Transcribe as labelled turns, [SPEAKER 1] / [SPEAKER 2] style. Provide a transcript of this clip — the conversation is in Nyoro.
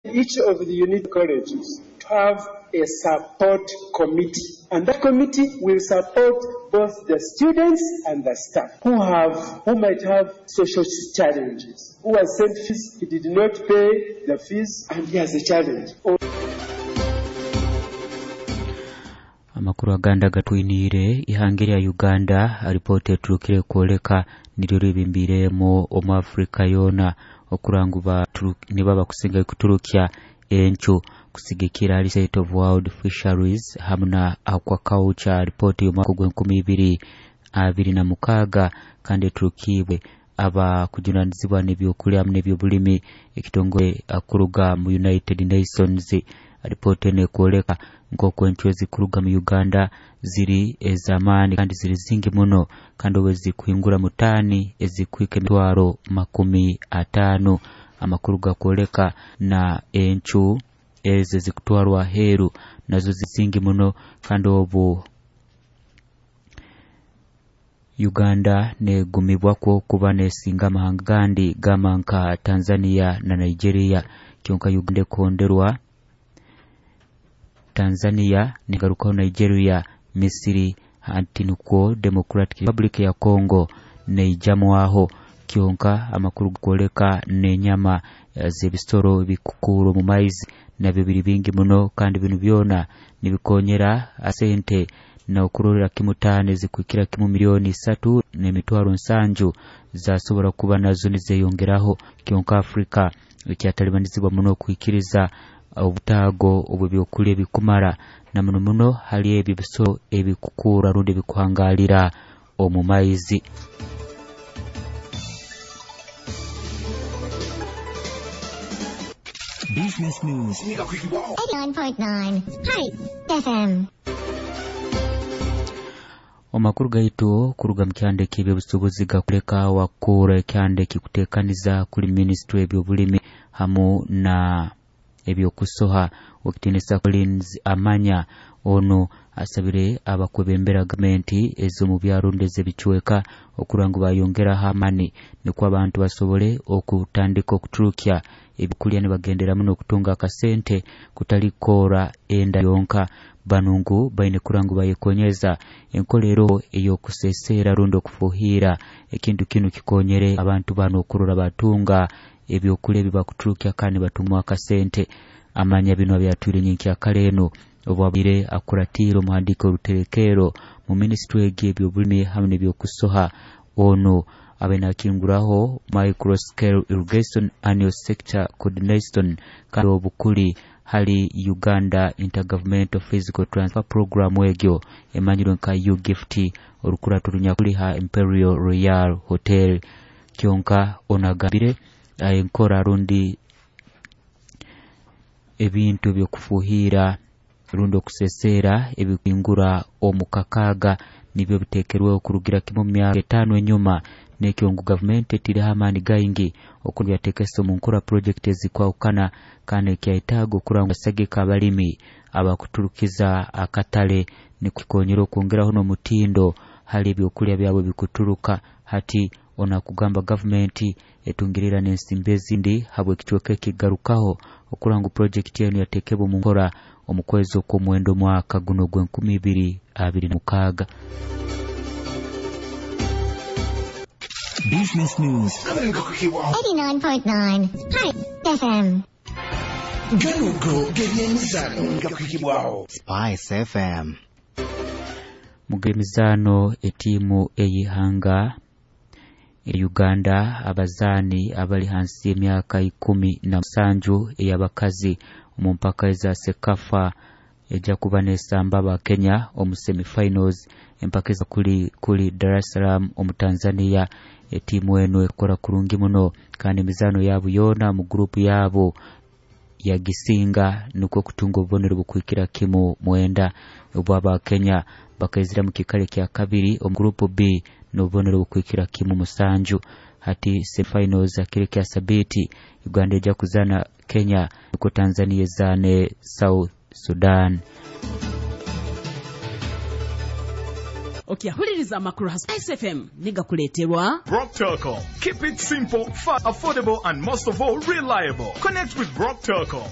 [SPEAKER 1] Each of the unit colleges to have a support committee, and that committee will support both the students and the staff who might have social challenges, who has sent fees, he did not pay the fees, and he has a challenge.
[SPEAKER 2] Amakuru agandi agatwiniire ihanga erya Uganda alipoota eturukire kwoleka niryo ribimbiiremu omu Afrika yoona okuranga nibo abakusinga kuturukya encu kusigikira hali State of World Fisheries hamu na Aquaculture ripooti y'omwaka ogw'enkumi ibiri abiri na mukaaga kandi eturukibwe abakujunanizibwa n'ebyokulya hamu n'ebyobulimi ekitongole kuruga mu United Nations. Ripooti eno ekwoleka nk'oku encu ezikuruga mu Uganda ziri ez'amaani kandi ziri zingi muno kandi obu ezikuhingura mu taani ezikuhika emitwaro 50. Amakuru gakwoleka na encu ezo ezikutwarwa aheeru nazo zingi muno kandi obu Uganda negumibwakwo kuba nesinga amahanga gandi gamba nka Tanzania na Nigeria. Kyonka Uganda ekonderwa Tanzania negarukaho Nigeria, Misiri anti nukwo Democratic Republic ya Congo neijamwaho. Kyonka amakuru gakwoleka n'enyama z'ebisoro ebikukuura omu maizi nabyo biri bingi muno kandi binu byona nibikonyera sente n'okurorera kimu taani ezikuhikira kimu 3,700,000 zasobora kuba nazo nizeyongeraho. Kyonka Afrika ekyatalibanizibwa muno okuhikiriza obutaago obw'ebyokulya ebikumara na muno muno hali ebyo ebisoro ebikukuura rundi ebikuhangalira omu maizi.
[SPEAKER 3] Business News
[SPEAKER 4] 89.9 Hi FM.
[SPEAKER 2] Omakuru gaitu kuruga mu kyanda eky'ebyobusuubuzi gakuleka wakura ekyanda ekikuteekaniza kuli minisitule ebyobulimi hamu na ebyokusoha. Okitinisa Collins Amanya ono asabire abakwebembera gavumenti ez'omu byaro ez'ebicweka okurora ngu bayongeraho amaani nikwo abantu basobole okutandika okuturukya ebyokulya nibagendera muno okutunga akasente kutali kukora enda yonka. Banu ngu baine kurora ngu bayekonyeza enkolero ey'okuseseera rundi okufuhira ekintu kinu kikonyere abantu bano okurora batunga ebyokulya ebibakuturukya kandi batungamu akasente. Amanya bino abyatwire nyenkyakara eno obwabaire akuratiire omuhandiiko oruterekero mu minisitule y'ebyobulimi hamu n'ebyokusoha. Ono abe nakinguraho micro scale irrigation annual sector coordination kandi obukuli hali Uganda Intergovernmental Physical Transfer Program egyo emanyirwe nka UGIFT orukurato runyakuli ha Imperial Royal Hotel. Kyonka ono agambire enkora rundi ebintu ebyokufuhira rundi okuseseera ebikuhingura omu kakaaga nibyo biteekerweho kurugira kimu mu myaka 5 enyuma nekyo ngu gavumenti etiireho amaani gaingi okubyateekesa omu nkora projekiti ezikwahukana kandi ekyetaaga okurora ngu basagika abalimi abakuturukiza akatale nikikonyera okwongeraho n'omutindo hali ebyokulya byabo bikuturuka. Hati ono akugamba gavumenti etungirira n'ensimbi ezindi habw'ekicweka ekigarukaho okurora ngu projekiti enu yateekebwa omu nkora omu kwezi okw'omwenda omwaka guno ogw'enkumi ibiri abiri na mukaaga.
[SPEAKER 3] Business News
[SPEAKER 4] 89.9 Hi FM.
[SPEAKER 3] Ganugo g'ebyemizaano nga kuhikibwaho
[SPEAKER 5] Spice FM.
[SPEAKER 2] Mu g'emizaano etiimu ey'ihanga e Uganda abazaani abali hansi y'emyaka 17 ey'abakazi omu mpaka eza CECAFA ejja kuba nesamba aba Kenya omu semifinals empaka eza kuli Dar es Salaam omu Tanzania. Etiimu eno ekora kurungi muno kandi emizaano yaabo yoona mu gurupu yaabo yagisinga nukwo kutunga obubonero bukuhikira kimu 9. Obu aba Kenya bakaizira mu kikaro kya kabiri omu gurupu B n'obubonero bukuhikira kimu 7. Hati semifinals akiro kya Sabiti Uganda ejja kuzaana Kenya nukwo Tanzania ezaane South Sudan.
[SPEAKER 5] Okyahuliriza amakuru ha Spice FM nigakuleeterwa
[SPEAKER 6] Brock Telecom. Keep it simple, fast, affordable, and most of all, reliable. Connect with Brock Telecom.